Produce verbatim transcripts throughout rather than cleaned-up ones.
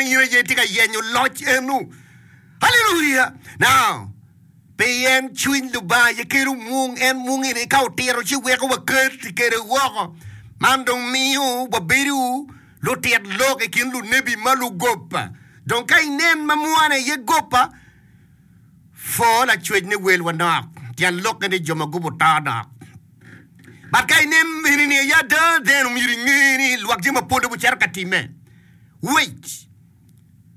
in aye itye ka yenyo loc eno. Haleluya! Now, pien cwiny Lubanga aye kelo mwung, en mwung eni ka otito ci weko wakati kwede woko. Man dong miyo wabedo lutit lok i kin lunebi ma lugoba. Dong ka inen ma mwane aye goba, pwo lacwec ni welwa nok, tyen lokke ni jo ma gubo to nok. But ka inen eni ni aye ada, then omyero inge ni lwak jami mapol dong ocito ka timme. Wait!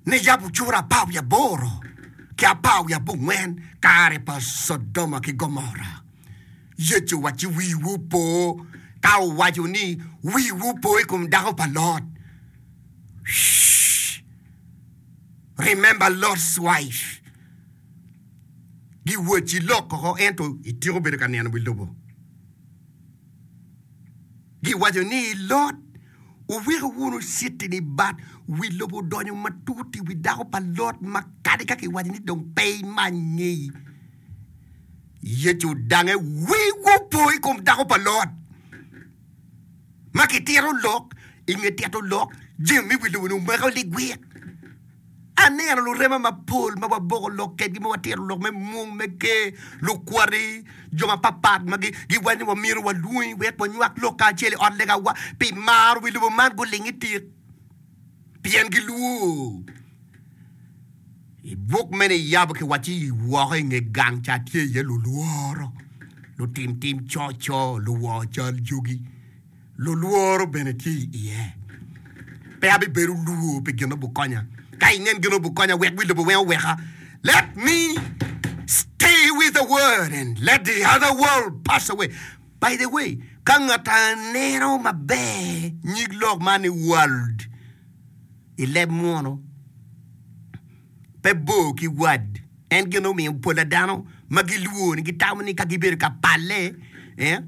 Ni yabo cura apar wiye aboro ki apar wiye abongwen kare pa Codoma ki Gomora. Yecu owacci wiwu opo ka owaco ni wiwu opo i kom dako pa Lot. Shh! Remember Lot's wife. Giwacci lok oko ento ityeko bedo ka neno wi lobo. Giwaco ni, Lot, wuweko wunu citi-ni bat wi lobo odonyo matut i wi dako pa Lot ma kadi ka kiwaco ni dong pe imany ngeyi. Yecu odange, Wiwu opo i kom dako pa Lot! Ma kitito lok, i nge tito lok, jami me wi lobo-ni omako ligwik. Aneno lurema mapol ma waboko lok kedgi, ma watito lok me mung me ker, lukwati, jo mapatpat ma giwaco ni wamyero walwongi wek wanywak lok kacel i ot legawa pi maro wi lobo man guling i tik pien gilwor. I buk me Niyabo kiwacci woko i nge gang ca tye iye lulworo, lutim tim coco, luwor cal jogi. Lulworo bene tye i iye. Pe abibedo lwor pi gin obukonya. Ka inen gin obukonya, wek wi lobo weng oweka. Let me stay with the word and let the other world pass away. By the way, ka ngat aneno maber nyig lok man ni world i leb munu, pe bor ki word. En gin omiyo pola dano ma gilwor ni gitamo ni ka gibedo ka palle, eh,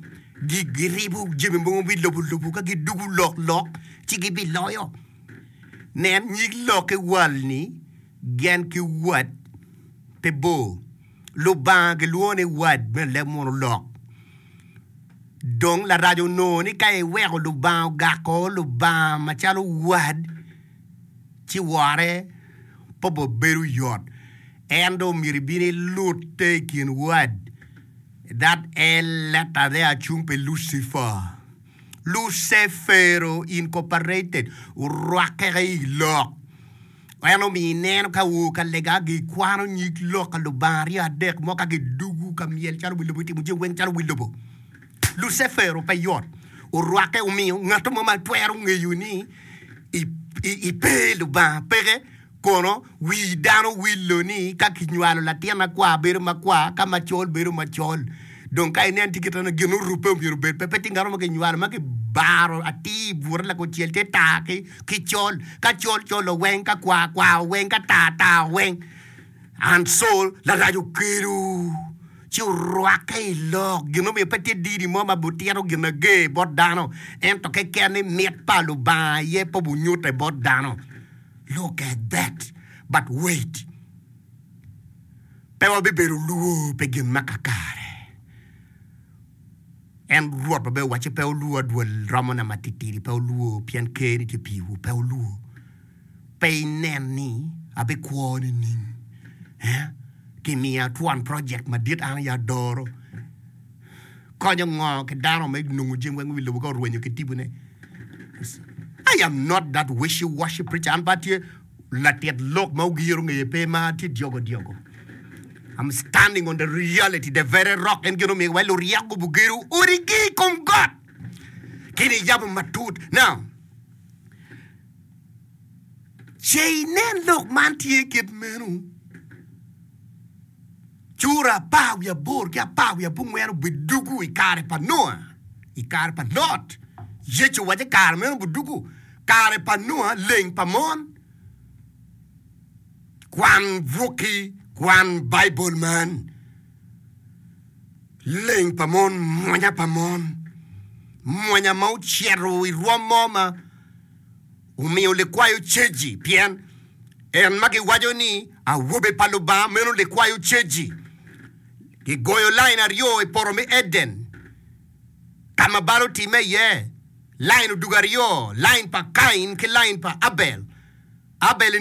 giribo jami mogo wi lobo lobo ka gidugo lok lok ci gibiloyo. Nen nyig lok ki wal ni gen ki wad pe bor. Lubanga gilwongo ni wad me leb munu lok. Dong larac onongo ni ka iweko Lubanga ogako Lubanga macalo wad ci wore pe obedo yot. En dong myero ibin ilute i kin wad. That L letter there cung pi Lucifer. Lucefero Incorporated orwakke i lok. En omiyo ineno ka woo ka lega gikwano nyig lok ka Lubanga aryo adek mo ka gidugu ka myel calo wi lobo gitimo jami weng calo wi lobo. Lucefero pe yot orwakke omiyo ngat mo ma twero ngeyo ni ipe Lubanga peke. Kono wi dano wilo ni ka kinywalo latin makwar bedo makwar, ka macol bedo macol. Dong ka inen tye kit meno, gin orubbe myero obed pe. Pe tye ngat mo ma kinywalo ma kibaro atir i bute lakucel tye tar ki col. Ka col col oweng, ka kwar kwar oweng, ka tar tar oweng. And so larac okelo ci orwakke i lok. Gin mumiyo pe tye dini mo ma butito gin ager bot dano, ento keken ni mit pa Lubanga aye pe obunyute bot dano. Look at that! But wait! Pe wabibedo lwor pi gin ma kakare. En Rwot ma bene owacci pe wulwor adwol romona matitidi, pe wulwor pien ker-ni tye piwu, pe wulwor. Pe inen ni abikwo nining? Eh? Kimiya twon project madit an aye adoro. Konyo ngo ki dano me nongo jami weng wi lobo ka orwenyo ki tipone? I am not that wishy washy preacher. An pe atye latit lok ma ogiro ngeye pe ma atye dyogo dyogo. I'm standing on the reality, the very rock. En gin omiyo wa luryeko gubugedo odigi i kom got. Kini yabo matut. Now, ce inen lok man tye kit meno, Cura apar wiye aboro ki apar wiye abongwen obidugu i kare pa Nua, i kare pa Lot. Yecu owaco i kare meno obidugu, kare pa Nua, leng pa mon. Kwan bukki, kwan Baibul man. Leng pa mon, mwonya pa mon, mwonya ma ocito i rwom mo ma omiyo likwayo ceji, pien en ma giwaco ni awobe pa Lubanga meno likwayo ceji. Gigoyo lain aryo i poto me Eden, ka ma bal otimme iye, lain odugo aryo, lain pa Kain ki lain pa Abel. Abel